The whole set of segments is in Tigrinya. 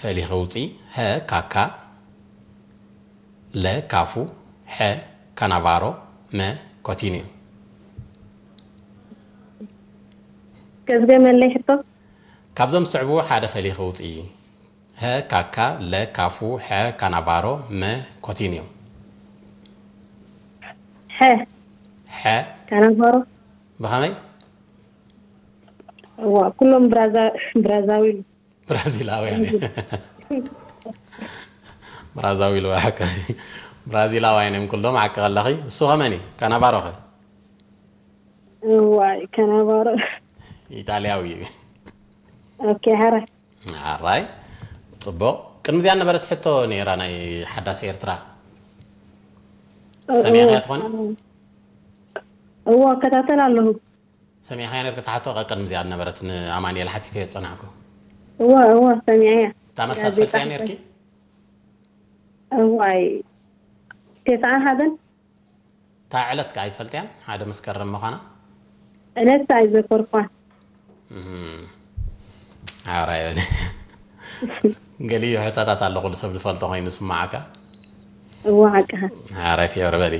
ፈሊኺ ውፂ። ሀ ካካ፣ ለ ካፉ፣ ሐ ካናቫሮ፣ መ ኮቲኒዮ። ከዝገመለይ ሕቶ። ካብዞም ዝስዕቡ ሓደ ፈሊኺ ውፂ። ሀ ካካ፣ ለ ካፉ፣ ሐ ካናቫሮ፣ መ ኮቲኒዮ። ሐ ሐ ካናቫሮ። ብኸመይ? እዋ ኩሎም ብራዛ- ብራዛዊል። ብራዚላውያን እዮም። ብራዛዊል ወይ ሓቂ? ብራዚላውያን እዮም ኩሎም። ሓቂ ከለኺ። እሱ ኸመኒ? ካናቫሮ ኸ? እዋይ ካናቫሮ። ኢጣልያዊ እዩ። ኦኬ፣ ሐረ። ኣራይ፣ ፅቡቕ። ቅድሚ እዚኣ ነበረት ሕቶ ነይራ፣ ናይ ሓዳስ ኤርትራ። ሰሚዕኽያ ትኾኒ? እዎ፣ እከታተል ኣለኹ። ሰሚዕኽያ ነርኪ? ታሕቶ ቅድሚ እዚኣ ነበረት፣ ንኣማኑኤል ሓቲተ ዝጸናሕኩ። እዎ፣ እዎ፣ ሰሚዐያ። እታ መልሳ ጋዜጣ ትፈልጥያ ሕቶ። ነርኪ? እዋይ፣ ተስዓን ሓደን። እታ ዕለት ከ ኣይትፈልጥያን? ሓደ መስከረም ምዃና? ዕለት ኣይዘከርኳን። እም። ኣራይ በሊ። ገሊኡ ሕቶታት ኣሎ፣ ኩሉ ሰብ ዝፈልጦ ኮይኑ ዝስማዓካ። እዎ፣ ሓቅኻ። ኣራይ ፊዮሪ በሊ።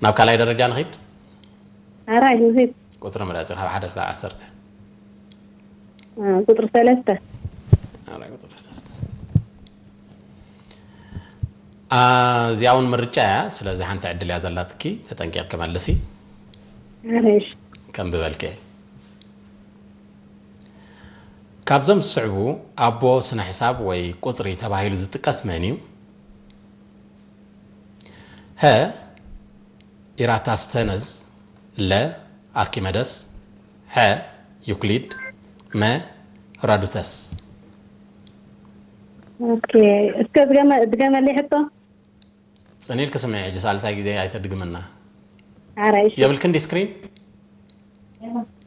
ናብ ካልኣይ ደረጃ ንኺድ። ኣራይ ንኺድ። ቁጽሪ ምረጺ ካብ ሓደ እስካብ ዓሰርተ። አ፣ ቁጽሪ ሰለስተ። ኣራይ ቁጽሪ ሰለስተ። አ፣ እዚኣ እውን ምርጫ እያ። ስለዚ ሓንቲ ዕድል እያ ዘላትኪ፣ ተጠንቂቕኪ መልሲ። ኣራይ፣ እሺ። ከም ብበልኪ። ካብዞም ዝስዕቡ ኣቦ ስነ ሕሳብ ወይ ቁጽሪ ተባሂሉ ዝጥቀስ መን እዩ? ሀ ኢራታስተነዝ፣ ለ ኣርኪመደስ፣ ሐ ዩክሊድ፣ መ ሄሮዶተስ። ኦኬ፣ እስከ ድገመ- ድገመለይ ሕቶ። ጽን ኢልኪ ስምዒ፣ ሕጂ ሳልሳይ ግዜ ኣይተድግምና። ኣራይ፣ እሺ። የብልክን ዲ ስክሪን?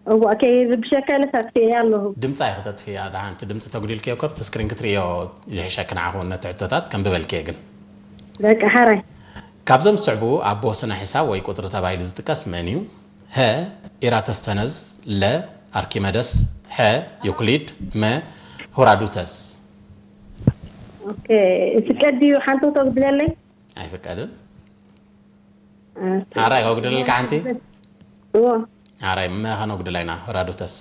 እዋ፣ ከይርብሸካ ኢለ ሳትፍየ ኣለኹ። ድምጻ እዩ ክተጥፍያ፣ ደሓን እቲ ድምጺ ተጉዲልክዮ እኮ ኣብቲ ስክሪን ክትርእዮ ይሕሸኪ ንዓኹ ነቲ ሕቶታት። ከም ብበልክዮ ግን። በቃ፣ ሓራይ። ካብዞም ዝስዕቡ ኣቦ ስነ ሕሳብ ወይ ቁጽሪ ተባሂሉ ዝጥቀስ መን እዩ? ሀ ኢራተስተነዝ፣ ለ ኣርኪመደስ፣ ሐ ዩክሊድ፣ መ ሄሮዶተስ። ኦኬ፣ ይፍቀድ ድዩ ሓንቶ ተጉድለለይ? ኣይፍቀድን። ኦኬ። ኣራይ ከጉድለልካ ሓንቲ? እዎ። ኣራይ መ ከነጉድላ ኢና፣ ሄሮዶተስ።